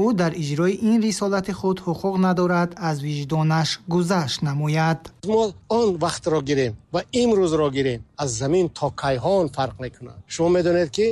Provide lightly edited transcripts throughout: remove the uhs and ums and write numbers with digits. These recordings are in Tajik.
Ӯ дар иҷрои ин рисолати худ ҳуқуқ надорад аз виҷдонаш гузашт намояд. Мо он вақтро гирем ва имрӯзро гирем, аз замин то кайҳон фарқ мекунад. Шумо медонед, ки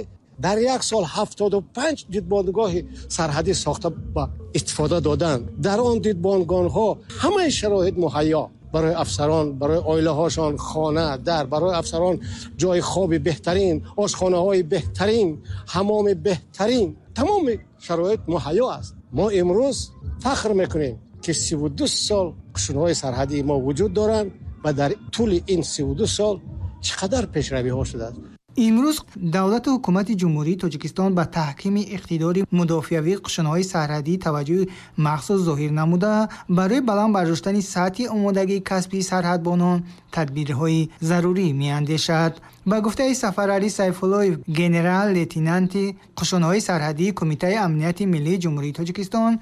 дар як сол 75 дидбонгоҳи сарҳадӣ сохта ба истифода доданд. Дар он дидбонгоҳҳо ҳамаи шароит муҳайё барои афсарон, барои оилаҳошон хона дар, барои афсарон ҷои хоби беҳтарин, ошхонаҳои беҳтарин, ҳаммоми беҳтарин, тамоми шароит муҳайё аст. Мо имрӯз фахр мекунем, ки 32 сол қушунҳои сарҳадии мо вуҷуд доранд ва дар тӯли ин 32 сол чӣ қадар пешравиҳо шудааст. Имрӯз давлату ҳукумати Ҷумҳурии Тоҷикистон ба таҳкими иқтидори мудофиавии қушунҳои сарҳадӣ таваҷҷӯҳи махсус зоҳир намуда, барои баланд бардоштани сатҳи омодагии касбии сарҳадбонон тадбирҳои зарурӣ меандешад. Ба гуфтаи Сафаралӣ Сайфуллоев, генерал-лейтенанти қушунҳои сарҳадии Кумитаи амнияти миллии Ҷумҳурии Тоҷикистон,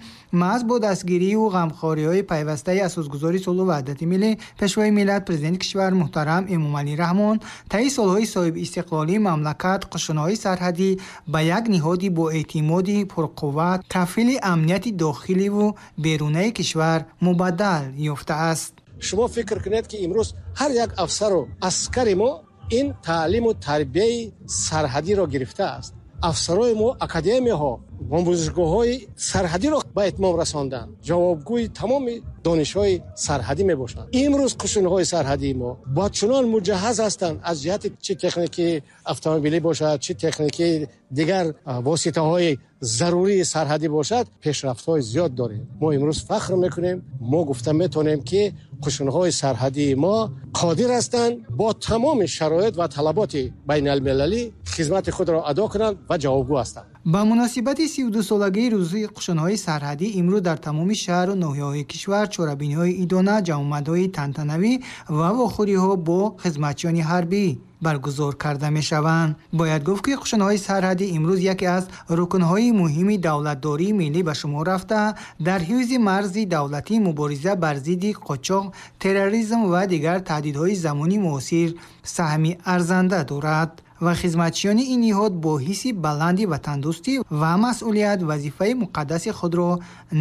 маҳз бо дастгирию ғамхориҳои пайвастаи асосгузори сулҳу ваҳдати миллӣ, Пешвои миллат, Президенти кишвар муҳтарам Эмомалӣ Раҳмон, таи солҳои соҳибистиқлолии мамлакат қушунҳои сарҳадӣ ба як ниҳоди боэътимоди пурқувват, кафили амнияти дохиливу берунаи кишвар мубаддал ёфтааст. Шумо фикр кунед, ки имрӯз ҳар як афсару аскари мо ин таълиму тарбияи сарҳадиро гирифтааст. Афсарои мо академияҳо, омӯзишгоҳҳои сарҳадиро ба итмом расонданд, ҷавобгӯи тамоми донишҳои сарҳадӣ мебошанд. Имрӯз қушунҳои сарҳадии мо бо чунон муҷаҳҳаз ҳастанд, аз ҷиҳати чӣ техникии автомобилӣ бошад, чӣ техникии дигар воситаҳои зарурии сарҳадӣ бошад, пешрафтҳои зиёд дорем. Мо имрӯз фахр мекунем, мо гуфта метавонем, ки қушунҳои сарҳадии мо қодир ҳастанд бо тамоми шароит ва талаботи байналмилалӣ хизмати худро адо кунанд ва ҷавобгӯ ҳастанд. Ба муносибати 32-солагии рӯзи қушунҳои сарҳадӣ имрӯз дар тамоми шаҳру ноҳияҳои кишвар чорабиниҳои идона, ҷамъомадҳои тантанавӣ ва вохӯриҳо бо хизматчиёни ҳарбӣ баргузор карда мешаванд. Бояд гуфт, ки қушунҳои сарҳадӣ имрӯз яке аз рукнҳои муҳими давлатдории миллӣ ба шумор рафта, дар ҳифзи марзи давлатӣ, мубориза бар зидди қочоқ, терроризм ва дигар таҳдидҳои замони муосир саҳми арзанда дорад ва хизматчиёни ин ниҳод бо ҳисси баланди ватандӯстӣ ва масъулият вазифаи муқаддаси худро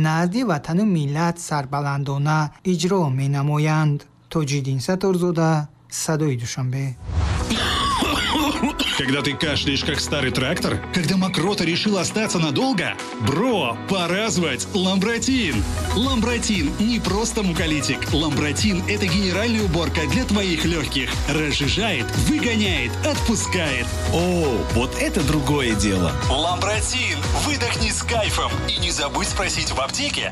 назди ватану миллат сарбаландона иҷро менамоянд. Тоҷиддин Сатторзода, Садои Душанбе. Когда ты кашляешь, как старый трактор? Когда мокрота решила остаться надолго? Бро, пора звать Ламбратин! Ламбратин не просто муколитик. Ламбратин – это генеральная уборка для твоих легких. Разжижает, выгоняет, отпускает. О, вот это другое дело. Ламбратин! Выдохни с кайфом. И не забудь спросить в аптеке.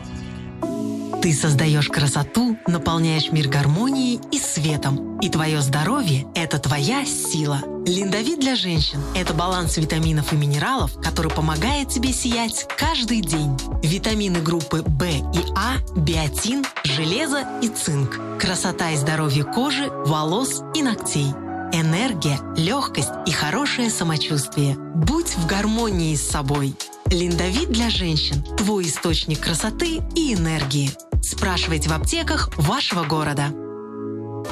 Ты создаешь красоту, наполняешь мир гармонией и светом. И твое здоровье – это твоя сила. Линдовит для женщин – это баланс витаминов и минералов, который помогает тебе сиять каждый день. Витамины группы В и А, биотин, железо и цинк. Красота и здоровье кожи, волос и ногтей. Энергия, легкость и хорошее самочувствие. Будь в гармонии с собой. Линдовит для женщин – твой источник красоты и энергии. Спрашивайте в аптеках вашего города.